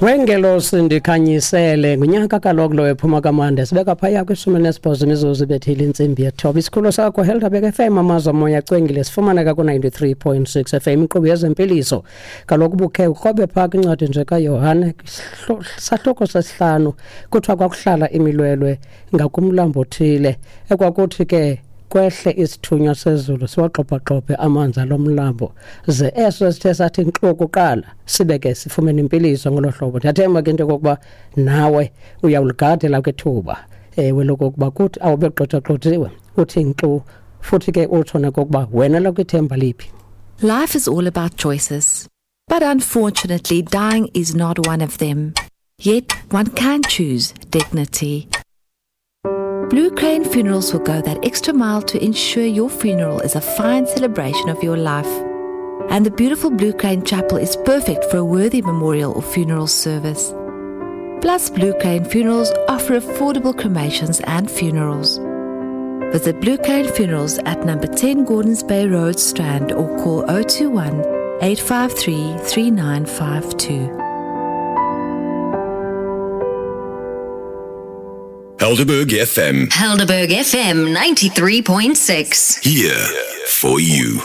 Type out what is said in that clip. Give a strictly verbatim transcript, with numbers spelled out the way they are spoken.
Wengelosi ndikhanyisele ngunyaka kaloku lo ephuma kamande sibeka phaya kwishumi nesibhozo imizuzu ibethile intsimbi yethoba. Isikhululo sakho Helderberg F M, amazwi omoya acwengile, sifumaneka ku-ninety-three point six F M, inkqubo yezempiliso. Kaloku bukhe ukrobe phaa kwincwadi nje kaYohane sahluko sesihlanu, kuthiwa kwakuhlala imilwelwe ngakumlambo othile ekwakuthi ke kwehle isithunywa sezulu siwagxobhagxobhe amanzi alo mlambo, ze eso sithe sathi nkxu kuqala sibe ke sifumene impiliso ngolo hlobo. Ndiyathemba ke into yokokuba nawe uyawuligadela kwithuba ewe lokokuba kuthi awube gxothagxothiwe uthi nkxu, futhi ke utsho nokokuba wena lokwithemba liphi. Life is all about choices, but unfortunately dying is not one of them. Yet one can choose dignity. Blue Crane Funerals will go that extra mile to ensure your funeral is a fine celebration of your life. And the beautiful Blue Crane Chapel is perfect for a worthy memorial or funeral service. Plus, Blue Crane Funerals offer affordable cremations and funerals. Visit Blue Crane Funerals at number ten Gordons Bay Road, Strand, or call oh two one, eight five three, three nine five two. Helderberg F M. Helderberg F M ninety-three point six. Here for you.